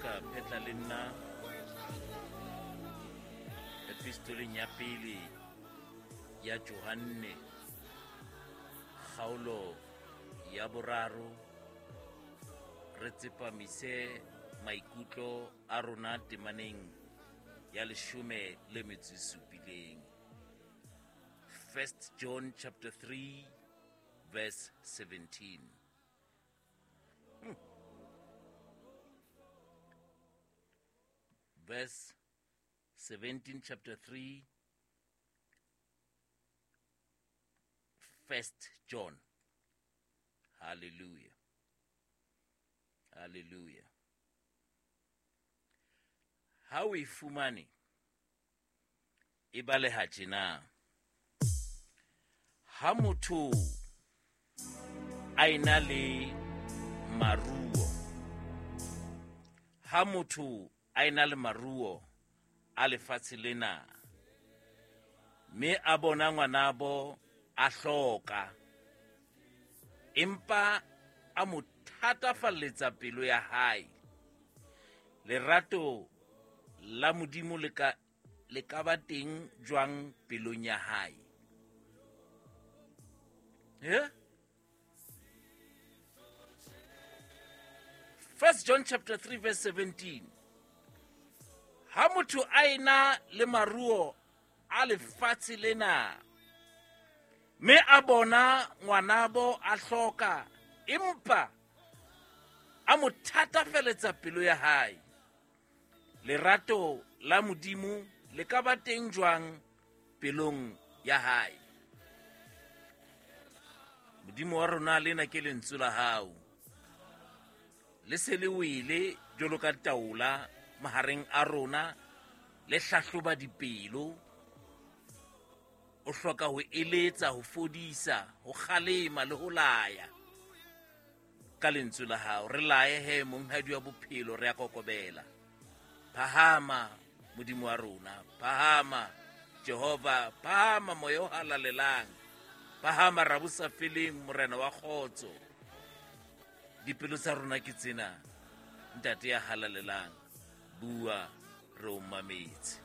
ka phetla le nna epistoleng ya pele ya Johanne, kgaolo ya boraro, re tsepamise maikutlo a rona temaneng ya leshome le metso e supileng. First John chapter 3 verse 17. Verse 17, chapter 3, First John. Hallelujah. Hallelujah. Ha o e fumane, e baleha tjena. Ha motho a ena le maruo, ha motho a ena le maruo a lefatshe lena, mme a bona ngwanabo a hloka, empa a mo thatafalletsa pelo ya hae, lerato la Modimo le ka le ka ba teng jwang pelong ya hae? Yeah? First John chapter 3 verse 17. Ha motho a ena le maruo a lefatshe lena, mme a bona ngwanabo a hloka, empa a mo thatafeletsa pelo ya hae, lerato la Modimo le ka ba teng jwang pelong ya hae? Modimo wa rona, lena ke lentswe la hao, le se le wele jwalo ka taola mahareng a rona, le hlahloba dipelo. O hloka ho eletsa, ho fodisa, ho kgalema le ho laya ka lentswe la hao. Re laye he, monghadi wa bophelo, re a kokobela. Phahama, Modimo wa rona, phahama Jehova, phahama moya o halalelang, phahama rabosa feleng, morena wa kgotso. Dipelo tsa rona ke tsena, ntate ya halalelang, bua re o mametse.